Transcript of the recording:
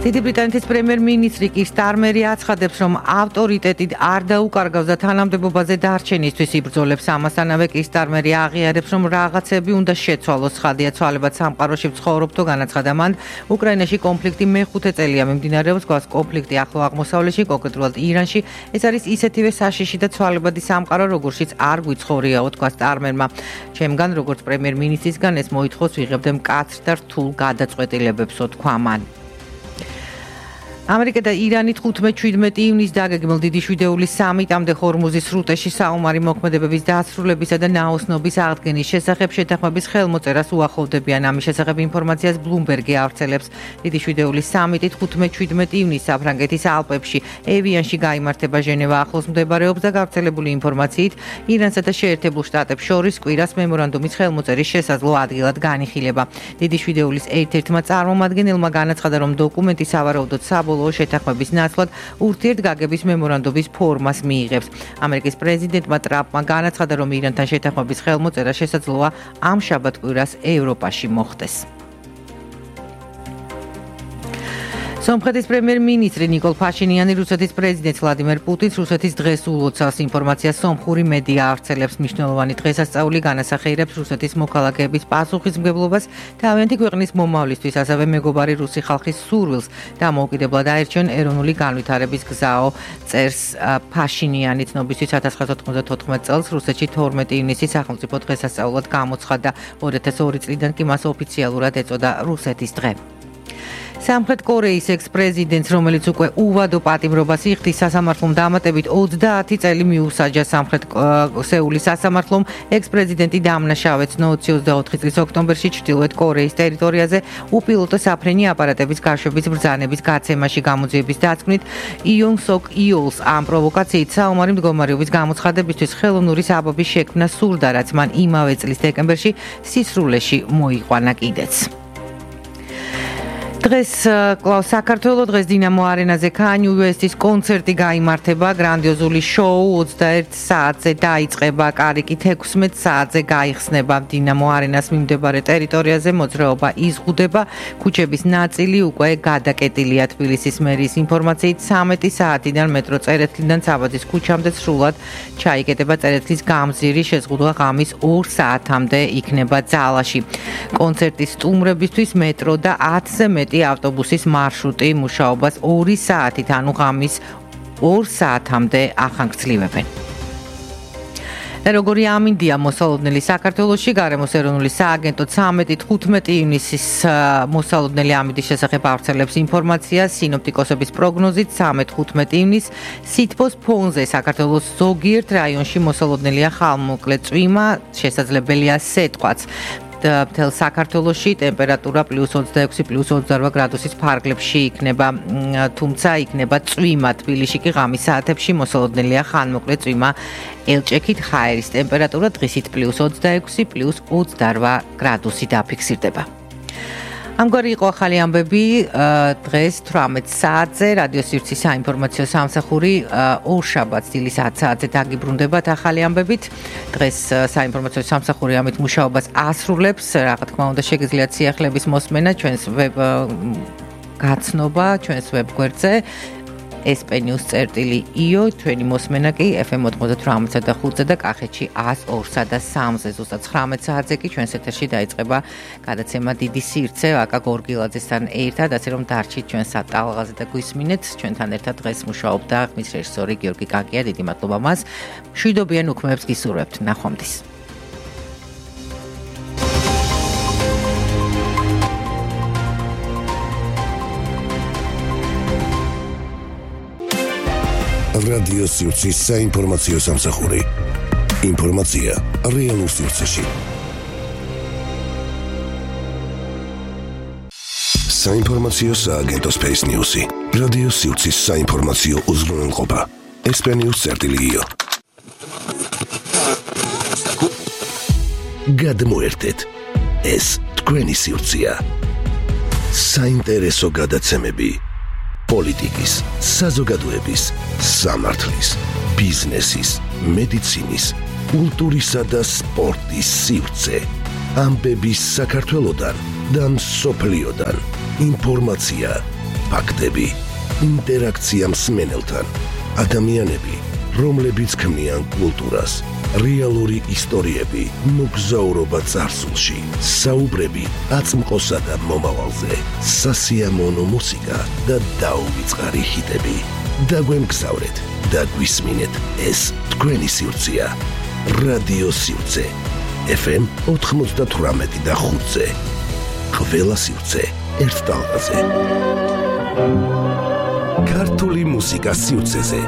დიდი ბრიტანეთის პრემიერ-მინისტრი კირ სტარმერი აცხადებს, რომ ავტორიტეტით არ დაუკარგავს და თანამდებობაზე დარჩენისთვის იბრძოლებს. ამასთანავე კირ სტარმერი აღიარებს, რომ რაღაცები უნდა შეცვალოს. ცხადია, ცვალებად სამყაროში ვცხოვრობ თუ განაცხადა მან, უკრაინაში კონფლიქტი მეხუთე წელია მიმდინარეობს, გვაქვს კონფლიქტი ახლო აღმოსავლეთში, კონკრეტულად ირანში. ეს არის ისეთივე საშიში და ცვალებადი სამყარო, როგორშიც არ გვიცხოვრიაო, თქვა სტარმერმა. ჩემგან, როგორც პრემიერ-მინისტრისგან, ეს მოითხოვს ვიღებდე მკაცრ და რთულ გადაწყვეტილებებსო, თქვა მან. ამერიკა და ირანი 15-17 ივნისს დაგეგმილ დიდი შვიდეულის სამიტამდე ჰორმუზის სრუტეში საომარი მოქმედებების დასრულებისა და ნაოსნობის აღდგენის შესახებ შეთანხმების ხელმოწერას უახლოვდებიან. ამის შესახებ ინფორმაციას ბლუმბერგი ავრცელებს. დიდი შვიდეულის სამიტი 15-17 ივნისს საფრანგეთის ალპებში ევიანში გაიმართება. ჟენევა ახლოს მდებარეობს და გავრცელებული ინფორმაციით ირანსა და შეერთებულ შტატებს შორის კვირას მემორანდუმის ხელმოწერის შესაძლო ადგილად განიხილება. დიდი შვიდეულის ერთ-ერთმა წარმომადგენელმა განაცხადა, რომ დოკუმენტი სავარაუდოდ შეთანხმების ნაცვლად ურთიერთგაგების მემორანდუმის ფორმას მიიღებს. ამერიკის პრეზიდენტმა ტრამპმა განაცხადა, რომ ირანთან შეთანხმების ხელმოწერა შესაძლოა ამ შაბათ-კვირას ევროპაში მოხდეს. სომხეთის პრემიერ-მინისტრი ნიკოლ ფაშინიანი რუსეთის პრეზიდენტ ვლადიმერ პუტინს რუსეთის დღეს ულოცავს. ინფორმაციას სომხური მედია ავრცელებს. მნიშვნელოვანი დღესასწაული განასახიერებს რუსეთის მოქალაქეების პასუხისმგებლობას თავიანთი ქვეყნის მომავლისთვის, ასევე მეგობარი რუსი ხალხის სურვილს დამოუკიდებლად აერჩიონ ეროვნული განვითარების გზაო, წერს ფაშინიანი. ცნობისთვის 1994 წელს რუსეთში 12 ივნისი სახელმწიფო დღესასწაულად გამოცხადდა. 2002 წლიდან კი მას ოფიციალურად ეწოდა რუსეთის დღე. სამხრეთ კორეის ექს-პრეზიდენტს, რომელიც უკვე უვადო პატიმრობას იხდის სასამართლომ დამატებით 30 წელი მიუსაჯა სამხრეთ სეულის სასამართლომ. ექს-პრეზიდენტი დამნაშავეც 2024 წლის ოქტომბერში ჩრდილოეთ კორეის ტერიტორიაზე უპილოტო საფრენი აპარატების გაშვების ბრძანების გაცემაში გამოძიების დაცვნით იონ სოკ იოლს ამ პროვოკაციით საომარი მდგომარეობის გამოცხადებისთვის ხელოვნური საბაბის შექმნა სურდა, რაც მან იმავე წლის დეკემბერში სისრულეში მოიყვანა კიდეც. დღეს კლავს საქართველოს დღეს დინამო არენაზე Kanye West-ის კონცერტი გაიმართება. გრანდიოზული შოუ 21 საათზე დაიწყება, კარიკი 16 საათზე გაიხსნება. დინამო არენას მიმდებარე ტერიტორიაზე მოძრაობა იზღუდება. ქუჩების ნაწილი უკვე გადაკეტილია. თბილისის მერიის ინფორმაციით 13 საათიდან მეტრო წერეთლიდან საბადის ქუჩამდე სრულად ჩაიკეტება. წერეთლის გამზირი შეზღუდვა ღამის 2 საათამდე იქნება ძალაში. კონცერტის სტუმრებისთვის მეტრო და 10-ზე მეტი ავტობუსის მარშრუტი მუშაობას 2 საათით, ანუ ღამის 2 საათამდე ახანგრძლივებენ. როგორი ამინდია მოსალოდნელი საქართველოში, გარემოს ეროვნული სააგენტო 13-15 ივნისის მოსალოდნელი ამინდის შესახებ ავრცელებს ინფორმაციას. სინოპტიკოსების პროგნოზით 13-15 ივნისს სითბოს ფონზე საქართველოს ზოგიერთ რაიონში მოსალოდნელია ხალხმოკლე წვიმა, შესაძლებელია სეტყვაც. მთელ საქართველოში ტემპერატურა +26 +28 გრადუსის ფარგლებში იქნება, თუმცა იქნება წვიმა. თბილისში კი ღამის საათებში მოსალოდნელია ხანმოკლე წვიმა. ელჭექით ჰაერის ტემპერატურა დღისით +26 +28 გრადუსი დაფიქსირდება. ამგვარი იყო ახალი ამბები დღეს 18 საათზე რადიო სივრცის საინფორმაციო სამსახური ორშაბათს დილის 10 საათზე დაგიბრუნდებათ ახალი ამბებით. დღეს საინფორმაციო სამსახური ამით მუშაობას ასრულებს. რა თქმა უნდა, შეგიძლიათ სიახლეების მოსმენა ჩვენს ვებ გაცნობა ჩვენს ვებგვერდზე sp-news.io, ჩვენი მოსმენა კი FM 98.5 და კახეთში 102-სა და 3-ზე. ზუსტად 19 საათზე კი ჩვენს ეთერში დაიწყება გადაცემა დიდი სივრცე აკა გორგილაძესთან ერთად, ასე რომ დარჩით ჩვენ სატალღაზე და გვისმინეთ. ჩვენთან ერთად დღეს მუშაობდა ხმის რეჟისორი გიორგი კაკია. დიდი მადლობა მას. მშვიდობიან უქმეებს გისურვებთ. ნახვამდის. რადიო სივრცის საინფორმაციო სამსახური. ინფორმაცია რეალურ სივრცეში. საინფორმაციო სააგენტო Space News-ი. რადიო სივრცის საინფორმაციო უზრუნველყოფა. sp-news.io. გადმოერთეთ. ეს თქვენი სივრცეა. საინტერესო გადაცემები. პოლიტიკის, საზოგადოების, სამართლის, ბიზნესის, მედიცინის, კულტურისა და სპორტის სივრცე. ამბების საქართველოდან და მსოფლიოდან. ინფორმაცია ფაქტები, ინტერაქცია მსმენელთან, ადამიანები, რომლებიც ქმნიან კულტურას, რეალური ისტორიები, მოგზაურობა წარსულში, საუბრები აწმყოსა და მომავალზე, სასიამოვნო მუსიკა და დაუვიწყარი ჰიტები. დაგვემგზავრეთ და გვისმინეთ ეს თქვენი სივრცეა. რადიო სივრცე FM 98 და 5-ზე. ყველა სივრცე ერთ ტალღაზე. ქართული მუსიკა სივრცეზე